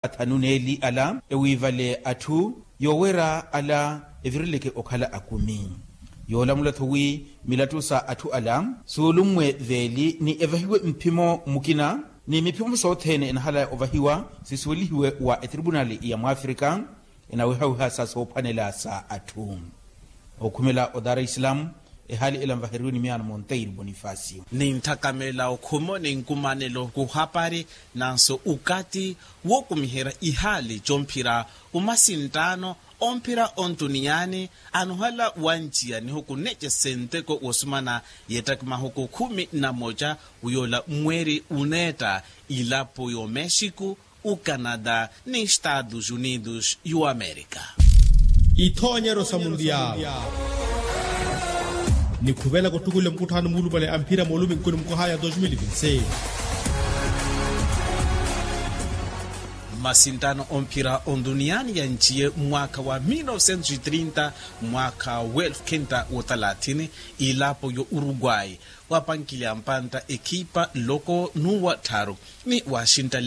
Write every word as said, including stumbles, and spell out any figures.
athanu n'eli ala ewiivale atthu yoowerya ala evirileke okhala akumi. Yoolamula-tho wi milattu sa atthu ala suulummwe veeli ni evahiwe mphimo mukina ni miphimo sothene enahala ovahiwa sisuwelihiwe wa etripunali ya mwafrika enawihawiha sa soophwanela sa atthu. Okhumela o dar es salaam ehaali ela nvaheriwe ni miyaano monteiro bonifacio. Ninthakamela okhumo ni nkumanelo kuhapari nanso ukati wookumiherya ihaali comphira umasinttaano omphira ontuniyani anohala wanjiya nihuku nece senteko wosumana yettakimahoko khumi na moca wiyoola mweeri uneetta ilapo yo mexico ucanada ni estados unidos y'uamerika. Ithoonyeryo sa mundiyalu ni khuvelaka ottukulela mukutthaano muulupale a mphira mooluminkuni mukohaya dos mil vinti seis. Masinttaano omphira ontuniyani yanjiye mwaakha wa mil novecentos e trinta mwaakha wa elfu khenta wa talathini ilapo yo uruguay wapankile ampantta ekhipa loko nuwa tharu ni washintale